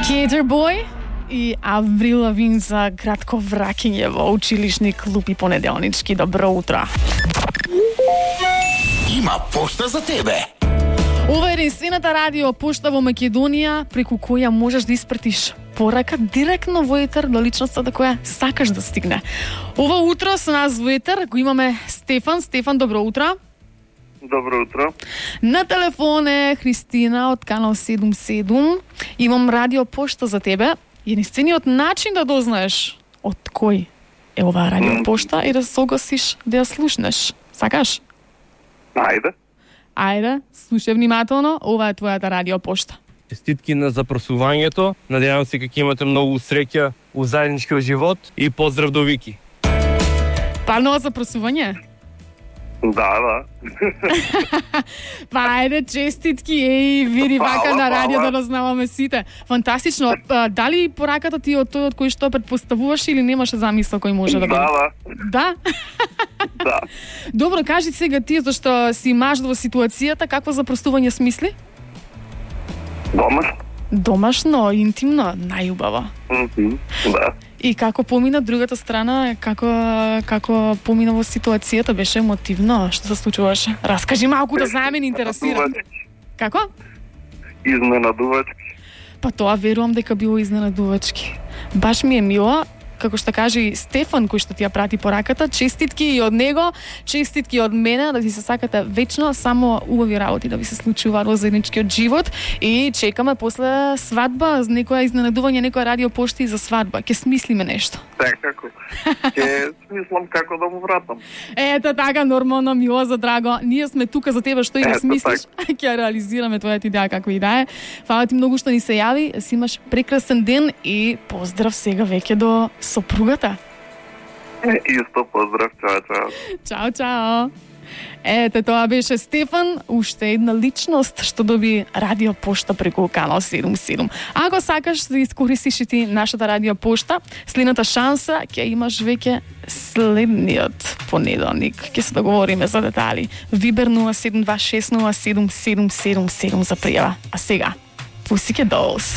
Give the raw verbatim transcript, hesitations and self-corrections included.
Skater Boy и Аврил Лавин за кратко враќање во училишни клуб и понеделнички. Добро утро. Има пошта за тебе. Ова е единствената радио пошта во Македонија преку која можеш да испратиш порака директно во етер до личноста до која сакаш да стигне. Ова утро со нас во етер го имаме Стефан. Стефан, добро утро. Добро утро. На телефон е Христина од канал седум седум. Имам радио пошта за тебе. Единствениот начин да дознаеш од кој е оваа радио пошта и да се согласиш да ја слушнеш. Сакаш? Ајде. Ајде, слушај внимателно, ова е твојата радио пошта. Честитки на запросувањето. Надевам се дека имате многу среќа у заедничкиот живот и поздрав до Вики. Парно запросување? Да, да. Па ајде, честитки, еј, види вака на радио да дознаваме сите. Фантастично. А, дали пораката ти од тој од кој што предпоставуваш или немаше замисла кој може да биде? Да, Да? да. Добро, кажи сега ти, зашто си маж во ситуацијата, какво запростување смисли? Домаш? Домашно, интимно, најубаво. Мгм, да. И како помина другата страна, како како помина во ситуацијата, беше емотивно, што се случуваше? Раскажи малку да знаеме, ни интересира. Како? Изненадувачки. Па тоа верувам дека било изненадувачки. Баш ми е мило, како што кажи Стефан, кој што ти ја прати пораката, честитки и од него, честитки од мене, да си се сакате вечно, само убави работи да ви се случуваат во заедничкиот живот и чекаме после свадба, некоја изненадување, некоја радио пошта и за свадба. Ке смислиме нешто. Секако. Ке смислам како да му вратам. Ето така, нормално, мило за драго. Ние сме тука за тебе, што и да Ето смислиш, ќе реализираме твојата идеја како и да е. Фала ти многу што ни се јави, си имаш прекрасен ден и поздрав сега веќе до сопругата. Исто поздрав, чао, чао. Чао, чао. Ете, тоа беше Стефан, уште една личност што доби радио пошта преку канал седум седум. Ако сакаш да искористиш и ти нашата радио пошта, следната шанса ќе имаш веќе следниот понеделник. Ќе се договориме за детали. Вибер нула седум два шест нула седум седум седум седум за пријава. А сега, Pussycat Dolls.